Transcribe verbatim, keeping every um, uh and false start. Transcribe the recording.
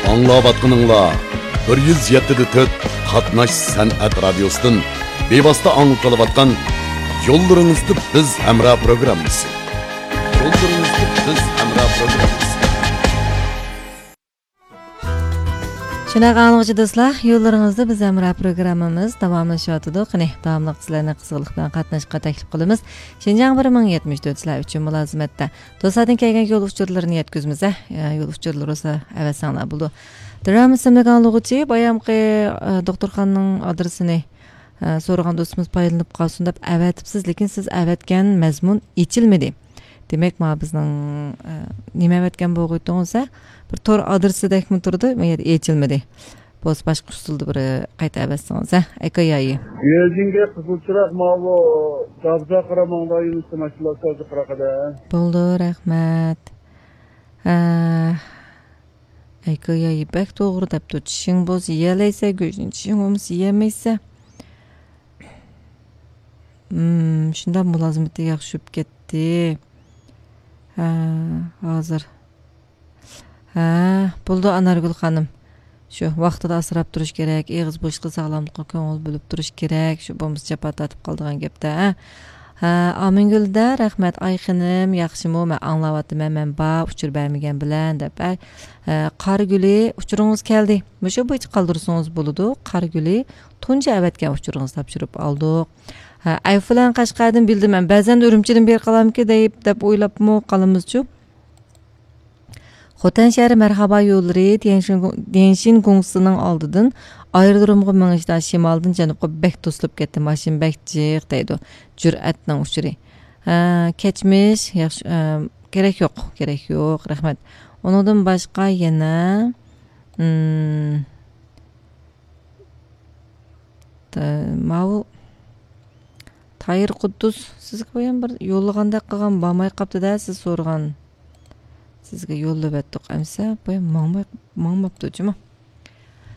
ئاڭلاۋاتقىنىڭلار بىر يۈز يەتتە دە تۆت قاتناش سەنئەت رادىيوسىدىن بىۋاسىتە ئاڭلىتىلىۋاتقان يوللىرىڭىزدا بىز ھەمراھ پروگراممىسى. يوللىرىڭىزدا بىز ھەمراھ پروگراممىسى. شۇنداق ئاڭلىغۇچى دوستلار، يوللىرىڭىزدا بىز ھەمراھ پروگراممىمىز داۋاملىشىۋاتىدۇ. قېنى، داۋاملىق سىلەرنى قىزغىنلىق بىلەن قاتناشقا تەكلىپ قىلىمىز. شىنجاڭ بىر مىڭ يەتمىش تۆت سىلەر ئۈچۈن مۇلازىمەتتە. دوستلاردىن كەلگەن يول ئۇچۇرلىرىنى يەتكۈزىمىز، ھە؟ يول ئۇچۇرلىرى بولسا ئەۋەتسەڭلار بولىدۇ. درام ئىسىملىك ئاڭلىغۇچى بايامقى، ئە، دوختۇرخانىنىڭ ئادرېسىنى، ئە، سورىغان دوستىمىز پايدىلىنىپ قالسۇن دەپ ئەۋەتىپسىز، لېكىن سىز ئەۋەتكەن مەزمۇن ئېچىلمىدى. دېمەك، مانا بىزنىڭ، ئە، نېمە ئەۋەتكەن بولغىيتتىڭىز، ھە؟ بىر تور ئادرېسىدەكمۇ تۇرىدۇ، ئۇ يەردە ئېچىلمىدى. بولسا باشقا ئۇسۇلدا بىر قايتا ئەۋەتسىڭىز، ھە؟ ئەكايايى. بېيجىڭگە قىزىل چىراغ ماۋۇ دابزا قارا ماڭدا يۈرۈشتە ماشىنىلار سازى قىراقىدە. بولدى، رەھمەت. ھە. ئەكايايى بەك توغرا دەپتۇ. چىشىڭ بولسا يېيەلەيسە، گۆشنى چىشىڭ بولمىسا يېيەلمەيسە. ھىم، شۇنداق مۇلازىمىتى ياخشى بولۇپ كەتتى. ھە، ھازىر. ھە، بولىدۇ ئانارگۈل خانىم. شۇ ۋاقتىدا ئاسراپ تۇرۇش كېرەك، ئېغىز بوشلۇقى ساغلاملىققا كۆڭۈل بۆلۈپ تۇرۇش كېرەك، شۇ بولمىسا جاپا تارتىپ قالىدىغان گەپتە، ھە. ھە، ئامىنگۈل دە، رەھمەت، ئاي خېنىم، ياخشىمۇ؟ مەن ئاڭلاۋاتىمەن، مەن بار، ئۇچۇر بەرمىگەن بىلەن، دەپ. ھە، ھە، قارىگۈلى، ئۇچۇرىڭىز كەلدى. مۇشۇ بويىچە قالدۇرسىڭىز بولىدۇ. قارىگۈلى، تۇنجى ئەۋەتكەن ئۇچۇرىڭىزنى تاپشۇرۇپ ئالدۇق. ھە، ئەيفۇلان قەشقەردىن بىلدىم مەن، بەزەن ئۈرۈمچىدىن بېرى قالامكى دەيپ، دەپ ئويلاپمۇ قالىمىزچۇ؟ خوتەن شەھىرى مەرھابا يوللىرى تيەنشىن، تيەنشىن گۇڭسىنىڭ ئالدىدىن ئايرودرومغا مېڭىشتا شىمالدىن جەنۇبقا بەك توسۇلۇپ كەتتى، ماشىنا بەك جىق دەيدۇ. جۈرئەتنىڭ ئۇچۇرى. ھە، كەچمىش، ياخشى، ئە، كېرەك يوق، كېرەك يوق، رەھمەت. ئۇنىڭدىن باشقا يەنە، ئىم، تا-، ماۋۇ تايىر قۇددۇس سىزگە بايام بىر يوللىغاندەك قىلغان، بارماي قاپتۇ-دە، سىز سورىغان. سىزگە يوللىۋەتتۇق ئەمسە، بايام ماڭماي، ماڭماپتۇ جۇمۇ.